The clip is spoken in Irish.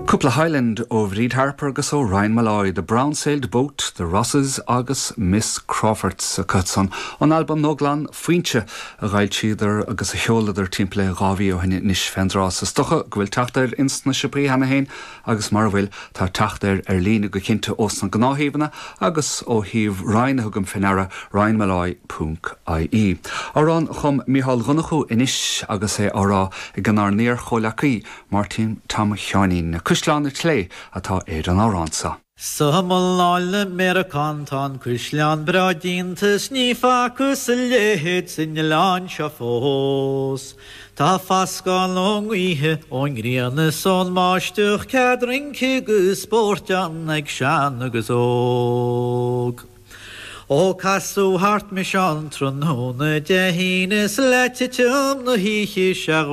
Cúpla Highland ó Bhríd Harper agus ó Ryan Molloy, The Brown Sailed Boat, The Rosses agus Miss Crawfords acusan ón albam nua glan Foinse a dh'fhoilsíodar agus a sheoladar timpeall le 2 mhí ó shin anois fén dtráth. Is dócha go bhfuil teacht air ins na siopaí cheana féin agus mara bhfuil, tá teacht air ar líne go cinnte ós na gnáthshuíomhanna agus ó shuíomh Ryan a thugaim fé ndeara, ryanmolloy ponc ie. Amhrán a chum Mícheál Ó Donnchú anois agus é á rá ag inár n-iar-chomhleacaí, Máirtín Tom Sheáinín. Cuisleán an tSlé atá ar an amhrán seo. Sa mullán le Meiriceán tá an cuisleán breá déanta 's ní facthas a leithéid san oileán seo fós. Tá fascadh ón ngaoithe, ón ngrian is ón mbáisteach, cead rince agus spóirt ann ag sean agus óg. Ó casadh thart mise ann tráthnóna Dé hAoine 's le titim na hoíche 'sea.